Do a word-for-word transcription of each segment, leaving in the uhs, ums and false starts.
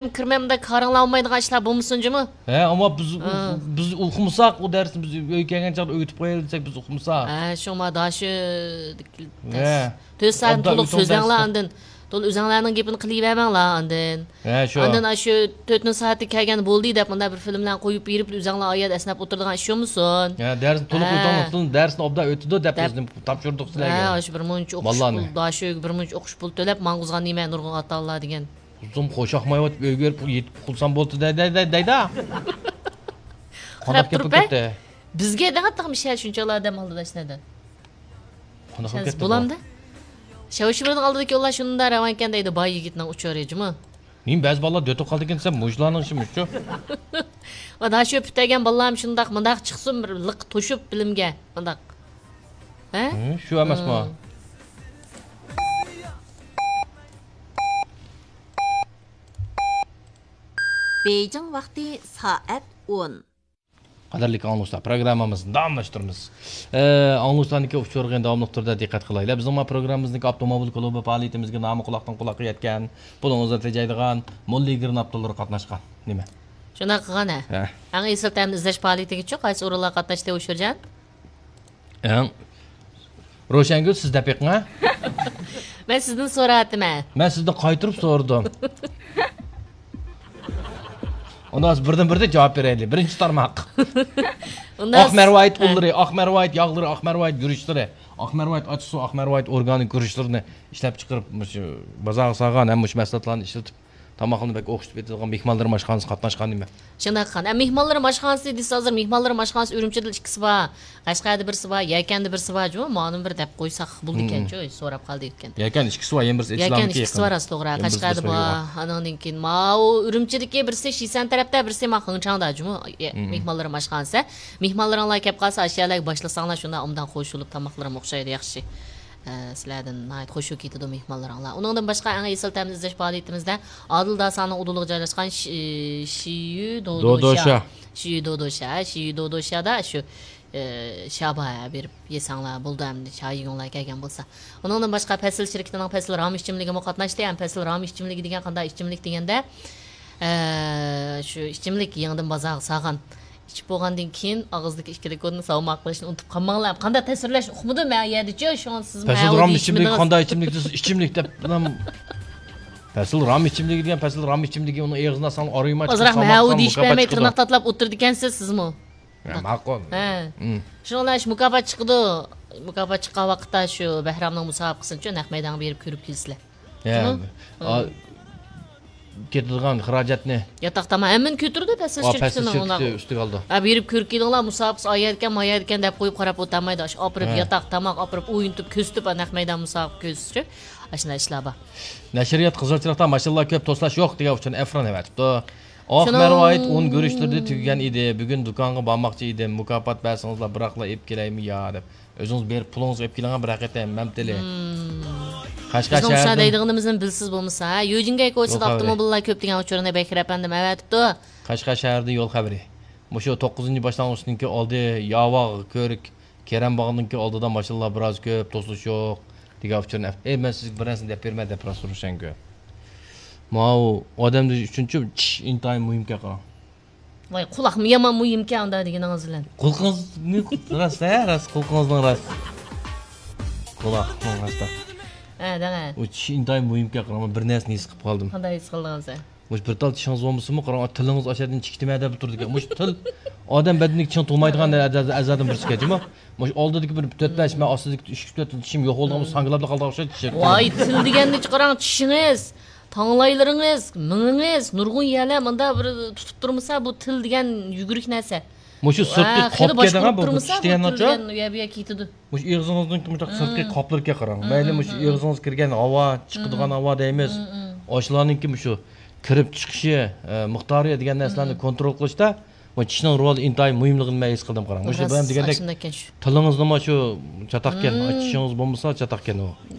كىرمەي مۇنداق كارىڭلار بولمايدىغان ئىشلار بولمىسۇن جۇمۇ. ھە، ئەمما بىز، ھە، بىز ئۇقمىساق، ئۇ دەرسنى بىز ئۆيگە كەلگەن چاغدا ئۆگىتىپ قويايلى دېسەك، بىز ئۇقمىساق. ھە، شۇڭا داشۆ ھە. تۆت سائەتنى ئوبدان تولۇق ئۆتۈڭ سۆزلەڭلار دەرسنى. ئاندىن. تولۇق ئۆزەڭلارنىڭ گېپىنى قىلىۋەرمەڭلار ئاندىن. ھە، شۇ. ئاندىن ئاشۇ تۆتىنچى سائەتتە كەلگەن بولدى دەپ مۇنداق بىر فىلىملارنى قويۇپ بېرىپ، ئۆزەڭلار ئايەت ئەسنەپ ئولتۇرىدىغان ئىش بولمىسۇن. ھە، دەرسنى تولۇق ھە. ئۆتۈڭ، دەرسنى ئوبدان ئۆتىدۇ دەپ دەپ. بىزنى تاپشۇردۇق سىلەرگە. ھە، ئاشۇ بىر مۇنچە ئوقۇش بالىلارنى. پۇل، داشۆگە بىر مۇنچە ئوقۇش پۇل تۆلەپ ماڭغۇزغان نېمە نۇرغۇن ئاتا-ئانىلار دېگەن. ئۇزۇن قوشاقمايۋاتىپ ئۆيگە بېرىپ يېتىپ ئۇخلىسام بولدى دەي-، دەي-، دەي-، دەيدۇ. قانداق قاراپ گەپ تۇرۇپ، بولۇپ كەتتى؟ بىزگە دەڭە تېخىمۇ شەھەر شۇنچىلا ئادەم ئالدىدا شۇنەدە. قانداق بولۇپ كەتتى بۇ؟ بولامدۇ؟ شاۋشىمىرنىڭ ئالدىدىكى يوللار شۇنداق راۋانكەن دەيدۇ، باي يىگىتنىڭ ئۇچۇرى جۇمۇ. نېمە بەزى بالىلار دۆتۈپ قالىدىكەن دېسەم، مۇشۇلارنىڭ ئىشىمۇ شۇ. ۋە داشۆ پۈتتۈرگەن بالىلارمۇ شۇنداق، مۇنداق چىقسۇن، بىر لىق توشۇپ بىلىمگە، مۇنداق. ھە؟ ھە، شۇ ئەمەسمۇ؟ ھىم. بېيجىڭ ۋاقتى سائەت ئون. قەدىرلىك ئاڭلىغۇچىلار، پروگراممىمىزنى داۋاملاشتۇرىمىز. ئە، ئاڭلىغۇچىلارنىڭكى ئۇچۇرىغا داۋاملىق تۈردە دىققەت قىلايلى. بىزنىڭ ما پروگراممىمىزنىڭكى ئاپتوموبىل كلۇبى پائالىيىتىمىزگە نامى قۇلاقتىن قۇلاققا يەتكەن، پۇلىڭىزنى تېجەيدىغان موللىگىرناپتوللىرى قاتناشقان. نېمە؟ شۇنداق قىلغان، ھە. ھە. ئەڭ ئېسىل تەمنى ئىزدەش پائالىيىتىگىچۇ قايسى ئورۇنلار قاتناشتى، ئۇشۇرجان؟ ئەڭ روشەنگۈل، سىز دەپ بېقىڭ، ھە؟ مەن سىزدىن سوراۋاتىمەن. مەن سىزدىن قايتۇرۇپ سورىدىم. ئۇنداق بولسا بىردىن بىردىن جاۋاب بېرەيلى. بىرىنچى تارماق. ئۇنداق ئاق مەرۋايىت ھە. ئۇنلىرى، ئاق مەرۋايىت ياغلىرى، ئاق مەرۋايىت گۈرۈچلىرى، ئاق مەرۋايىت ئاچچىقسۇ، ئاق مەرۋايىت ئورگانىك گۈرۈچلىرىنى ئىشلەپچىقىرىپ، مۇشۇ بازارغا سالغان ھەم مۇشۇ مەھسۇلاتلارنى ئىشلىتىپ، تاماقنى بەك ئوخشىتىپ ئېتىدىغان مېھمانلىرىم ئاشخانىسى قاتناشقان نېمە؟ شۇنداق قىلغان. ئە، مېھمانلىرىم ئاشخانىسى دېسە، ھازىر مېھمانلىرىم ئاشخانىسى ئۈرۈمچىدە ئىككىسى بار، قەشقەردە بىرسى بار، يەكەندە بىرسى بار جۇمۇ. مانىمۇ بىر دەپ قويساق بولىدىكەنچۇ، مم. سوراپ قالدى ئۆتكەندە. يەكەن ئىككىسى بار، يەنە بىرسى يەكەن ئىچىلامدىكى ئىككىسى يېقىن. بار، راست، توغرا. يەنە بىرسى قەشقەردە باشقا بار، يوق. ئانىڭدىن كېيىن ماۋۇ ئۈرۈمچىدىكى بىرسى شىسەن تەرەپتە، بىرسى ما خېڭچاڭدا جۇمۇ. يە، مم. مېھمانلىرىم ئاشخانىسى. مېھمانلىرىڭلار كەپ قالسا، ئاشۇ يەرلەرگە باشلىساڭلار، شۇنداق ئوبدان خوش بولۇپ، تاماقلىرىم ئوخشايدۇ، ياخشى. ئە، سىلەردىن ناھايىتى خوش بولۇپ كېتىدۇ مېھمانلىرىڭلار. ئۇنىڭدىن باشقا، ئەڭ ئېسىل تەمنى ئىزدەش پائالىيىتىمىزدە ئادىل داساڭنىڭ ئۇدۇلىغا جايلاشقان شى-، شىيۈ دودوشا. دودوشا. شىيۈ دودوشا، شىيۈ دودوشادا شۇ، ئە، شابا بېرىپ يېسەڭلار بولىدۇ، ئەمدى چاي يېگۈڭلار كەلگەن بولسا. ئۇنىڭدىن باشقا، پەسىل شىركىتىنىڭ پەسىل رام ئىچىملىكىمۇ قاتناشتى. ھەم پەسىل رام ئىچىملىكى دېگەن قانداق ئىچىملىك دېگەندە، ئە، شۇ ئىچىملىك يېڭىدىن بازارغا سالغان. ئىچىپ بولغاندىن كېيىن ئاغزىدىكى ئىككى لىكۇرنى ساۋماق قىلىشنى ئۇنتۇپ قالماڭلار. قانداق تەسۋىرلەش ئۇقمىدىم مەن ئۇ يەردىچۇ، شۇڭا سىز مەن پەسىل رام ئىچىملىكى قانداق ئىچىملىك دېسە، ئىچىملىك دەپ، پەسىل رام ئىچىملىكى دېگەن، پەسىل رام ئىچىملىكى، ئۇنىڭ ئېغىزىنى ئالساڭ، ئارىيىماي ئازراق مەھەۋۇ دېيىشىپ بەرمەي، تىرناق تاتىلاپ ئولتۇرىدىكەنسىز سىزمۇ. ھە، ماقۇل. ھە. مم. شۇنىڭ بىلەن شۇ مۇكاپات چىقىدۇ. مۇكاپات چىققان ۋاقىتتا شۇ بەھرامنىڭ مۇسابىقىسىنىچۇ نەق مەيدانغا بېرىپ كۆرۈپ كېلىسىلەر. ھە. شۇنىڭ؟ ئا، مم. كېتىدىغان خىراجەتنى. ياتاق تاماق ھەممىنى كۆتۈرىدۇ پەسىل ئا، پەسىل شىركىتىنىڭ شىركىتى ئۇناق. ئۈستىگە ئالىدۇ. ھە، بېرىپ كۆرۈپ كېلىڭلار، مۇسابىقىسى ئايەركەن، مايەركەن دەپ قويۇپ قاراپ ئولتۇرمايدۇ. ئاشۇ ئاپىرىپ ھە. ياتاق تاماق ئاپىرىپ ئوينىتىپ كۆرسىتىپ، نەق مەيدان مۇسابىقە كۆرسىتىشى. ئاشۇنداق ئىشلار بار. نەشرىيات قىزىل چىراغدا ماشىنىلار كۆپ، توسلاش يوق دېگەن ئۈچۈن ئەفران ئەۋەتىپتۇ. ئاق شۇنىڭ مەرۋايىت ئۇن گۈرۈچلىرىدە تۈگىگەن ئىدى. بۈگۈن دۇكانغا بارماقچى ئىدىم. مۇكاپات بەرسىڭىزلا بىراقلا ئېلىپ كېلەيمۇ يا دەپ. ئۆزىڭىز بېرىپ پۇلىڭىزغا ئېلىپ كېلىڭ بىر ھەقىقەتەن مەمتىلى. مم. قەشقەر بىزنىڭ شۇ شەھىرىدىن دەيدىغىنىمىزنى بىلسىز بولمىسا، ھە؟ يۈجىنگەي كوچىسىدا يول خەۋىرى. ئاپتوموبىللار كۆپ دېگەن ئۇچۇرنى بەكرى ئەپەندىم ئەۋەتىپتۇ. قەشقەر شەھىرىدىن يول خەۋىرى. مۇشۇ توققۇزىنچى باشلانغۇچنىڭكى ئالدى ياۋاغ كۆرۈك. كېرەم باغنىڭكى ئالدىدا ماشىنىلار بىراز كۆپ، توسۇلۇش يوق دېگەن ئۇچۇرنى ئەپ-، ئەي، مەن سىزگە بىر نەرسىنى دەپ بېرىمەن دەپ راست روشەنگۈل. ماۋۇ ئادەم ئۈچۈنچۇ چىش ئىنتايىن مۇھىمكەن قاراڭ. ۋاي، قۇلاقمۇ يامان مۇھىمكەن ئۇنداق دېگىنىڭىز بىلەن. قۇلىقىڭىزنى راست، ھە، راست، قۇلىقىڭىزنىڭ راست. قۇلاقنىڭ راست. ھە، دەڭە. ئۇ چىش ئىنتايىن مۇھىمكەن قاراڭ، مەن بىر نەرسىنى ھېس قىلىپ قالدىم. قانداق ھېس قىلدىڭىز سەن؟ مۇشۇ بىر تال چىشىڭىز بولمىسىمۇ، قاراڭ، تىلىڭىز ئاشۇ يەردىن چىقىتىمەن دەپ تۇرىدىكەن. مۇشۇ تىل ئادەم بەدىنىدىكى چىڭ تۇرمايدىغان ئەزا-، ئەزادىن بىرسىكەن جۇمۇ. مۇشۇ ئالدىدىكى بىر تۆت بەش، مەن ئاستىدىكى ئۈچ تۆت تال چىشىم يوق بولغان بولسا، ساڭگىلاپلا قالىدىغان ئوخشايدۇ چىشىم. ۋاي، تىل دېگەننى چىقىراڭ، چىشىڭىز، تاڭلايلىرىڭىز، مېڭىڭىز، نۇرغۇن يەرلەر مۇنداق بىر تۇتۇپ تۇرمىسا، بۇ تىل دېگەن يۈگۈرۈك نەرسە. مۇشۇ سىرتقى ھە، قاپقا خېلى باشقۇرۇپ دەيدىغان بۇ تۇرمىسا، تىش بۇ دېگەن تىل ناچار. دېگەن ئۇ يەر بۇ يەر كېتىدۇ. مۇشۇ ئېغىزىڭىزنىڭكى مۇشۇنداق سىرتقى قاپلىرىكەن قاراڭ. مەيلى مۇشۇ ئېغىزىڭىز كىرگەن ھاۋا، چىقىدىغان ھاۋا دەيمىز. ئاشۇلارنىڭكى مۇشۇ كىرىپ چىقىشى، ئە، مىقدارى دېگەن نەرسىلەرنى كونترول قىلىشتا بۇ چىشنىڭ رولى ئىنتايىن مۇھىملىقىنى مەن ھېس قىلدىم قاراڭ. مۇشۇ راست، بىلەن دېگەندەك ئاشۇنداككەن شۇ. تىلىڭىزنىمۇ شۇ چاتاقكەن، چىشىڭىز بولمىسا چاتاقكەن ئۇ.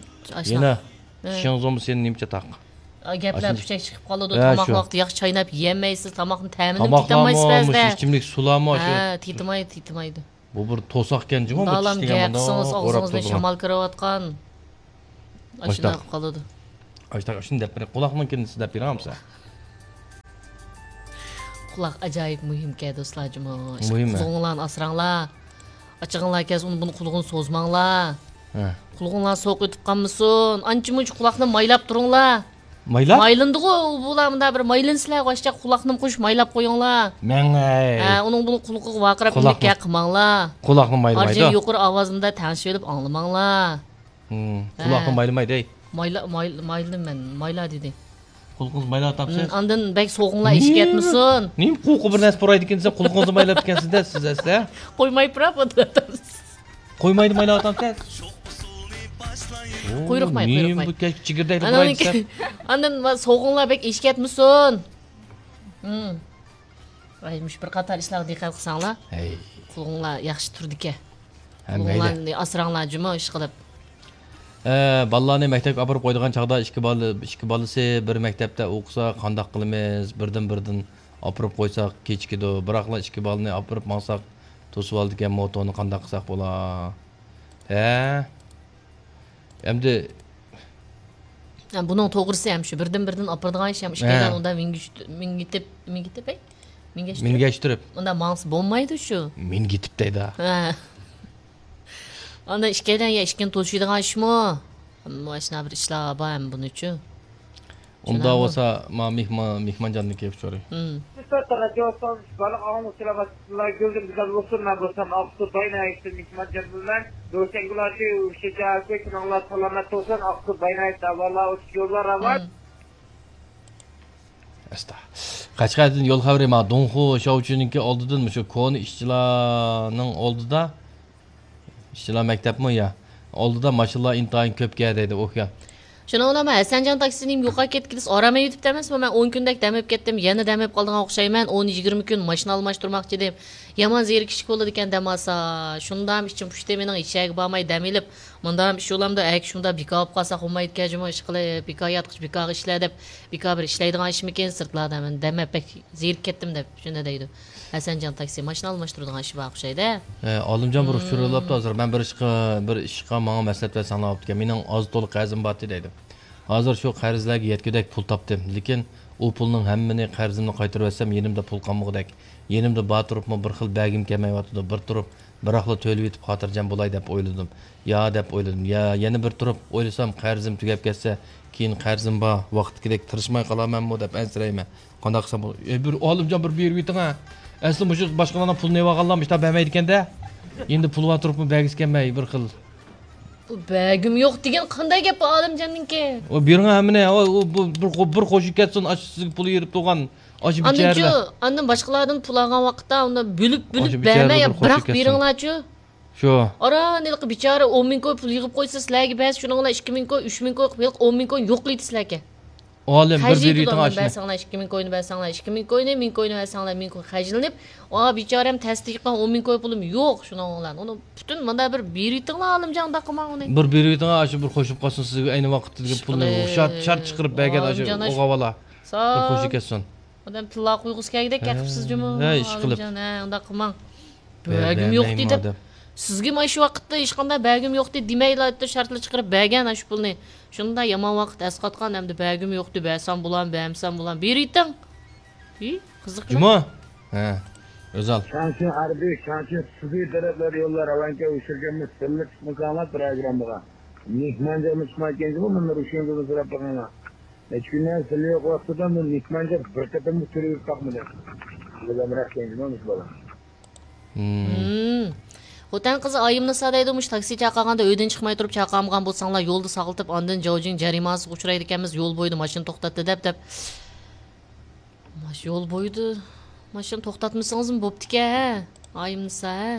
ئاشۇنداق. يەنە چىشىڭىز بولمىسا يەنە نېمە چاتاق؟ ئا، گەپلەر ئاشۇنداق. پۇچەك چىقىپ قالىدۇ. ھە، تاماق شۇ. ۋاقتىدا ياخشى چايناپ يېيەلمەيسىز، تاماقنى تەمىنىمۇ تېتىيالمايسىز بەزىدە. مۇشۇ ئىچىملىك سۇلارمۇ شۇ. ھە، تېتىمايدۇ، تېتىمايدۇ. بۇ بىر توساقكەن جۇمۇ، بۇ دالام چىش دېگەن گەپ مۇنداق قىلسىڭىز، ئوراپ ئاغزىڭىزدىن تۇرىدىغان. شامال كىرىۋاتقان. مۇشۇنداق. ئاشۇنداق قىلىدۇ. ئاشۇنداق، ئاشۇنداق دەپ بېرىڭ. قۇلاقنىڭكىنى سىز دەپ بېرىڭ بولمىسا. قۇلاق ئاجايىپ مۇھىمكەن، دوستلار، جۇمۇ. مۇھىم، ھە. قۇلىقىڭلارنى ئاسراڭلار. ئاچىقىڭلار كەلسە، ئۇنى بۇنى قۇلىقىنى سوزماڭلار. ھە. قۇلىقىڭلار سوغۇق ئۆتۈپ قالمىسۇن. ئانچە مۇنچە قۇلاقنى مايلاپ تۇرۇڭلار. مايلاپ؟ مايلىنىدىغۇ، بۇلار مۇنداق بىر مايلىنسىلەر، ۋاشچە قۇلاقنى قوشۇپ مايلاپ قويۇڭلار. مەڭەي. ھە، ئۇنىڭ بۇنىڭ قۇلىقىغا ۋارقىراپ قۇلاقنى، نېمە قىلماڭلار. قۇلاقنى مايلايدۇ. يۇقىرى ئاۋازدا تەڭشىۋېلىپ ئاڭلىماڭلار. ھىم، ھە. قۇلاقنى مايلىمايدۇ، ھەي. مايلا-، مايل-، مايلىدىم مەن، مايلا دېدى. قۇلىقىڭىز مايلاۋاتامسىز؟ ھىم، ئاندىن بەك سوغۇڭلار ئىچىگە كەتمىسۇن. نېمە قۇرۇقى بىر نەرسە پۇرايدىكىنسە، قۇلىقىڭىزنى مايلاپتىكەنسىز-دە سىز ئەسلى. قويماي پۇراپ ئولتۇرۇۋاتامسىز. قويمايدۇ، مايلاۋاتامسىز. قۇيرۇقماي، نېمە قۇيرۇقماي. بۇ چېگىردەكنى پۇرايدىسەن. ئاندىن سوغۇڭلار بەك ئىچىگە كەتمىسۇن. ھىم. ۋاي، مۇشۇ بىر قاتار ئىشلارغا دىققەت قىلساڭلار، ھەي. قۇلىقىڭلار ياخشى تۇرىدىكەن. ھە، مەيلى. قۇلىقىڭلارنى ئاسراڭلار جۇمۇ، ئىشقىلىپ. ئە، بالىلارنى مەكتەپكە ئاپىرىپ قويىدىغان چاغدا ئىككى بالا، ئىككى بالىسى بىر مەكتەپتە ئوقۇسا قانداق قىلىمىز؟ بىردىن-بىردىن ئاپىرىپ قويساق كېچىكىدۇ. بىراقلا ئىككى بالىنى ئاپىرىپ ماڭساق توسۇۋالىدىكەن موتونى، قانداق قىلساق بولا؟ ھە؟ ئەمدى ھە، بۇنىڭ توغرىسى ھەم شۇ، بىردىن-بىردىن ئاپىرىدىغان ئىش ھەم ئىككىيلەن ھە. ئۇندا مىنگىش-، مىنگىتىپ، مىنگىتىپ، ئەي؟ مىنگەشتۈرۈپ. مىنگەشتۈرۈپ. ئۇندا ماڭسا بولمايدۇ شۇ. مىنگىتىپ دەيدۇ. ھە. ئاندىن ئىككىيلەن يا ئىككىنى توشۇيدىغان ئىشمۇ؟ ماشۇنداق بىر ئىشلار بار ھەم بۇنىچۇ. ئۇنداق بولسا، ما مېھمان، مېھمانجاننىڭكى ئۇچۇرى. ھىم. بارلىق ئاڭلىغۇچىلار باشلىقلار گۈلدىن گۈزەل بولسۇن، مەن بولسام ئاقسۇ باينايىتتىن مېھمانجان بىلەن روشەنگۈل ئاچى، ئۇششىچە ئەركەك، كۈنۈڭلار سالامەت بولسۇن، ئاقسۇ باينايىت ئەۋۋاللا ئوچۇق يوللار ئاۋات. ھىم. ئەستا. قەشقەردىن يول خەۋىرى، ما دۇڭخۇ شاۋچۈنىڭكى ئالدىدىن، مۇشۇ كونا ئىشچىلارنىڭ ئالدىدا، ئىشچىلار مەكتەپمۇ يا؟ ئالدىدا ماشىنىلار ئىنتايىن كۆپكەن دەيدۇ، ئۇكا. شۇنىڭ بىلەن مەن ھەسەنجان تاكسىنى يوقاپ كەتكىلى ئارام ئېلىپ ئەمەسمۇ؟ مەن ئون كۈندەك دەم ئېلىپ كەتتىم، يەنە دەم ئېلىپ قالىدىغان ئوخشايمەن. ئون يىگىرمە كۈن ماشىنا ئالماشتۇرماقچى ئىدىم. يامان زېرىكىشلىك بولىدىكەن دەم ئالسا. شۇندام ئىچىم پۇشتى مېنىڭ، ھېچ يەرگە بارماي دەم ئېلىپ. مۇندام ئىش بولامدۇ؟ ئەگەر شۇنداق بىكار بولۇپ قالسا بولمايدىكەن جۇمۇ، ئىشقىلىپ بىكار ياتقۇچە بىكارغا ئىشلە دەپ، بىكار بىر ئىشلەيدىغان ئىشمىكىن، سىرتلاردا مەن دەم ئېلىپ بەك زېرىكىپ كەتتىم دەپ شۇنداق دەيدۇ. ھەسەنجان تاكسى ماشىنا ئالماشتۇرىدىغان ئىشى بار ئوخشايدۇ. ھە، ئالىمجان بىر ئۇچۇر يوللاپتۇ ھازىر. مەن بىر ئىشقا، بىر ئىشقا ماڭا مەسلىھەت بەرسەڭلار بوپتىكەن. مېنىڭ ئاز تولا قەرزىم بارتى دەيدۇ. ھازىر شۇ قەرزلەرگە يەتكۈدەك پۇل تاپتىم. لېكىن ئۇ پۇلنىڭ ھەممىنى قەرزىمنى قايتۇرۇۋەتسەم يېنىمدا پۇل قالمىغۇدەك. يېنىمدا بار تۇرۇپمۇ بىر خىل بەرگۈم كەلمەيۋاتىدۇ. بىر تۇرۇپ بىراقلا تۆلىۋېتىپ خاتىرجەم بولاي دەپ ئويلىدىم. يا دەپ ئويلىدىم. يا، يەنە بىر تۇرۇپ ئويلىسام، قەرزىم تۈگەپ كەتسە، كېيىن قەرزىم بار، ۋاقىتتىكىدەك تىرىشماي قالارمەنمۇ دەپ ئەنسىرەيمەن. قانداق قىلسام بولىدۇ؟ ئى، بىر ئالىمجان بىر بېرىۋېتىڭ ھە. ئەسلى مۇشۇ باشقىلارنىڭ پۇلىنى ئېلىۋالغانلار مۇشۇنداق بەرمەيدىكەن-دە. ئەمدى پۇلى بار تۇرۇپمۇ بەرگۈسى كەلمەي بىر خىل. بۇ بەرگۈم يوق دېگەن قانداق گەپ بۇ ئالىمجاننىڭكى؟ ئۇ بېرىڭ ھەممىنى. ئۇ، ئۇ، بۇ بىر قو-، بىر قوشۇپ كەتسۇن، ئاشۇ سىزگە پۇل يېرىپ تۇرغان. ئاشۇ ئاندىنچۇ، بىچارىلەر. ئاندىن باشقىلاردىن پۇل ئالغان ۋاقىتتا ئۇنى بۆلۈپ، بۆلۈپ ئاشۇ بىچارىلەر بەرمەي، بىر بىراق قوشۇپ كەتسۇن. بېرىڭلارچۇ. شۇ. ئاران ھېلىقى بىچارە ئون مىڭ كوي پۇل يىغىپ قويسا، سىلەرگە بەرسە، شۇنىڭ بىلەن ئىككى مىڭ كوي، ئۈچ مىڭ كوي قىلىپ، ھېلىقى ئون مىڭ كوي يوقلايدۇ سىلەرگە. ئالىم، بىر خەجلىيدۇ بېرىۋېتىڭ ئۇلار، ئاشۇنى. بەرسەڭلار ئىككى مىڭ كوينى، بەرسەڭلار ئىككى مىڭ كوينى، مىڭ كوينى بەرسەڭلار مىڭ كوي خەجلىنىپ، ئا، بىچارەم تەستە يىغقان ئون مىڭ كوي پۇلۇم يوق، شۇنىڭ بىلەن. ئۇنى پۈتۈن مانا بىر بېرىۋېتىڭلار، ئالىمجان، ئۇنداق قىلماڭ ئۇنى. بىر بېرىۋېتىڭ، ئاشۇ بىر قوشۇپ قالسۇن سىزگە ئەينى ۋاقىتتىكى پۇلنى. ئىشقىلىپ. شارت، شارت چىقىرىپ بەرگەن ئاشۇ ئالىمجان ئاش-، ئوغاۋالا. بىر ساغ قوشۇپ كەتسۇن. ئادەم تىللا قويغۇسى كەلگۈدەك گەپ قىپسىز جۇمۇ. ھە، ئىشقىلىپ. ئالىمجان، ھە، ئۇنداق قىلماڭ. بەرگۈم يوق دېدى. سىزگىمۇ ئاشۇ ۋاقىتتا ھېچقانداق بەرگۈم يوق دېدى دېمەيلا، شارتلا چىقىرىپ بەرگەن ئاشۇ پۇلنى. شۇنداق يامان ۋاقىت ئەسقاتقان، ئەمدى بەرگۈم يوق دېدى، بەرسەم بولامدۇ، بەرمىسەم بولامدۇ. بېرىۋېتىڭ. ھى، قىزىق. جۇمۇ. ھە. ئۆزەل. شاڭشىڭ ھەربىي، شاڭشىڭ سۈبى تەرەپلەر يوللار ئەۋەنكە ئۇچۇرگەنمۇ سىللىق چىقمىساڭلار پىروگراممىغا. مېھمانجانمۇ چىقمايدىكەن جۇمۇ، مۇندىن رۇشيەنگىدىن سوراپ بېقىڭلار. نەچچە كۈندىن سىلى يوق ۋاقتىدا بۇ مېھمانجان بىر قېتىممۇ تۈرۈلۈپ باقمىدى. بىلگەنرەك كەينىدىن مۇشۇ بالا. ھىم. خوتەن قىزى ئايىمنىسا دەيدۇ، مۇشۇ تاكسى چاقىرغاندا ئۆيدىن چىقماي تۇرۇپ چاقىرمىغان بولساڭلار، يولدا ساقلىتىپ، ئاندىن جاۋجىڭ جەرىمانىسىغا ئۇچرايدىكەنمىز، يول بويىدا ماشىنا توختاتتى دەپ، دەپ. ماش-، يول بويىدا ماشىنا توختاتمىسىڭىزمۇ بوپتىكەن، ھە؟ ئايىمنىسا، ھە؟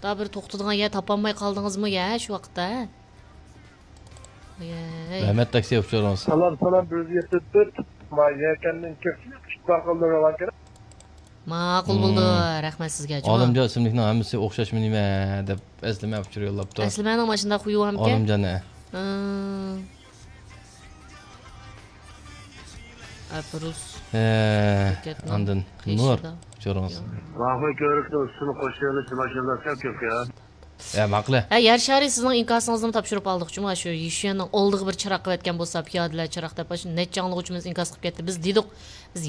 دا بىر توختىدىغان يەر تاپالماي قالدىڭىزمۇ يا شۇ ۋاقىتتا، ھە؟ ئايەي. رەھمەت، تاكسى ئۇچۇرىڭىز. سالام، سالام، بىر يۈز يەتتە تۆت. ما يەكەننىڭ كۆپ ئىشقا قىلدى روۋاكەن. ماقۇل بولدى. ھىم. رەھمەت سىزگە، جۇمۇ. ئالىمجان ئىسىملىكنىڭ ھەممىسى ئوخشاشمۇ نېمە دەپ ئەسلىمە ئۇچۇر يوللاپتۇ. ئەسلىمەنىڭ ماشۇنداق خۇيى بارمىكەن؟ ئالىمجان، ھە. ھىم. ئەپرۇس. ھە، ئاندىن نۇر، ئۇچۇرىڭىز. راخوي كۆۋرۈكنىڭ ئۈستىنى قوشۇۋېلىش ماشىنىلار سەل كۆپ يا. ھە، ماقۇل. ھە، يەر شارى سىزنىڭ ئىنكاسىڭىزنىمۇ تاپشۇرۇپ ئالدۇق جۇمۇ، شۇ يىشۈەننىڭ ئالدىغا بىر چىراغ قىلىۋەتكەن بولسا، پىيادىلەر چىراغ دەپ، شۇ نەچچە ئاڭلىغۇچىمىز ئىنكاس قىلىپ كەتتى. بىز دېدۇق، بىز